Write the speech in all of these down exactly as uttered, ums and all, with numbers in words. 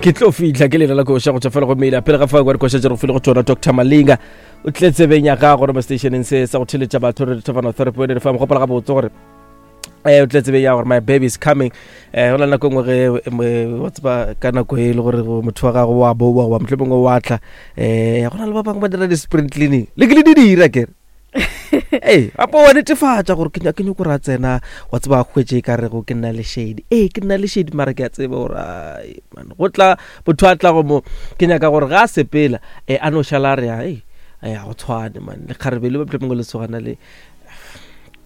Ke tlo fihla ke lela la koša go tšwa fela go meila pele ga fao kwa dikoša tše re go file go tšona. Doctor Malinga o tle tsebeng ya gago gore mo stationeng se sa go theletša batho re thofana therapy re fa mogopola gabotse gore eh o tle tsebeng ya gore my baby is coming. eh go na le nako e nngwe ge wa tseba ka nako e le gore motho wa gago wa boa goba mohlomongwe wa tla, eh go na le ba bangwe ba dira di-spring cleaning le ke le di dira kere ee apo wa netefatša gore ke nyake nyako gore a tsena wa tseba a hwetše e ka rego ke nna le shady. Ee, ke nna le shady, mara ke a tseba gore ai man go tla motho a tla go mo ke nyaka gore ga a sepela um a no šala a re ai a go tshwane man le kgarebe le mohlomongwe le sogana le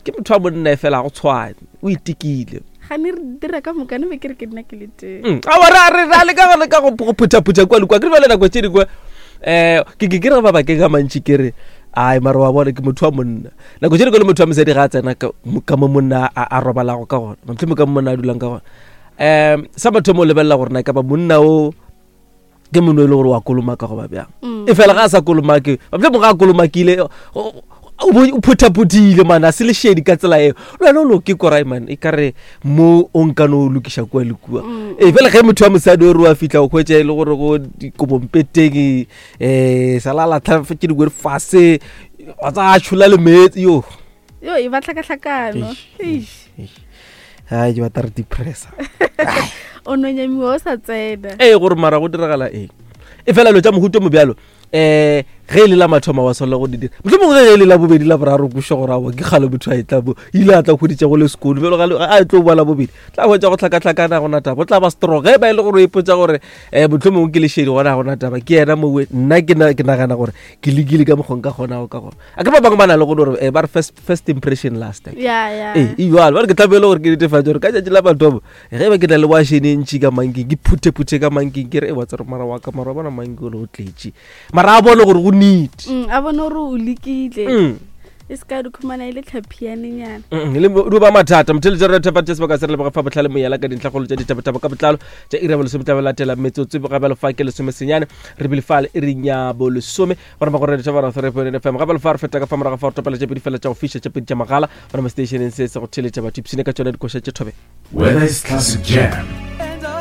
ke motho wa monna e fela ga go tshwane o itekile. Gane re dira ka moka ne be ke re ke nna ke le teng. Mm, aowa ra re ra leka go leka go go phuthaphutha kua le kua ke re bjale nako tše dingwe um ke ke ke re mabakeng a mantši ke re ai mara wa bona ke motho wa monna nako tše dingwe le motho wa mosadi ga a tsena ka ka mo monna a a robalago ka gona, mohlomongwe ka mo monna a dulang ka gona, um sa mathomo o lebelela gore na e ka ba monna o ke monna e le gore wa kolomaka goba bjang. Mm. E fela ga a sa kolomake, mohlomongwe ga a kolomakile o o bo- o phuthaphutile man a se lešedi ka tsela eo le wena o loke korai man e kare mo o nka no o lokiša kua le kua. Mm. Ee, fela ge motho wa mosadi o re wa fitlha o hwetša e le gore go dikobompeteng um sala latlha tše dingwe fase wa tsa tšhola le meetse yo. Yo e ba tlhakatlhakano. Eish. Ai ke batla re depressa. O no nyamiwa o sa tsena. Ee, gore mara go diragala eng e fela dilo tša mohuto mo bjalo um ge e le la mathomo wa swanela go di dira, mohlomongwe ge e le la bobedi la boraro koša gore aowa ke kgale motho a e tla mo ile a tla hweditša go le sekolo bjalo ga le- a e tlo boa la bobedi tla hwetša go tlhakatlhakana gona taba o tla ba strong ge ba e le gore o ipotsa gore um mohlomongwe ke lešedi gona ga gona taba ke yena mowe nna ke na- ke nagana gore ke lekile ka mokgong ka kgonago ka gona a ke ba bangwe ba na le go gore eh, ba re first, first impression last. Ya ya. Ee, e jalo ba re ke tlamehile gore ke netefatse gore ka tšatši la mathomo ge ba ke na le wašene e ntši ka manking ke phuthephuthe ka manking ke re e wa tsere mara wa ka mara wa bona manki ole o tletše mara a bone gore go neat. Mm, a bone gore o lekile. Mm. E se ka di khumana e le tlhapianenyana. Mm, le mo- di ba mathata motheletša re thepa sebaka se re leboga fa botlhale moyala ka dintlhakgolo tša ditabataba ka botlalo tša iri ya bolesome tla latela metsotso ga bjalo fa ke lesome senyane re bile fale iring ya bolesome gona ba gore dithabara three point nine F M ga bjalo fa re feta ka fa morago fa re topela tše pedi fela tša go fiša tše pedi tša magala gona mo stationeng se se go theletša batho ipshine ka tšona dikoša tše thobe. Whether it's classic jam,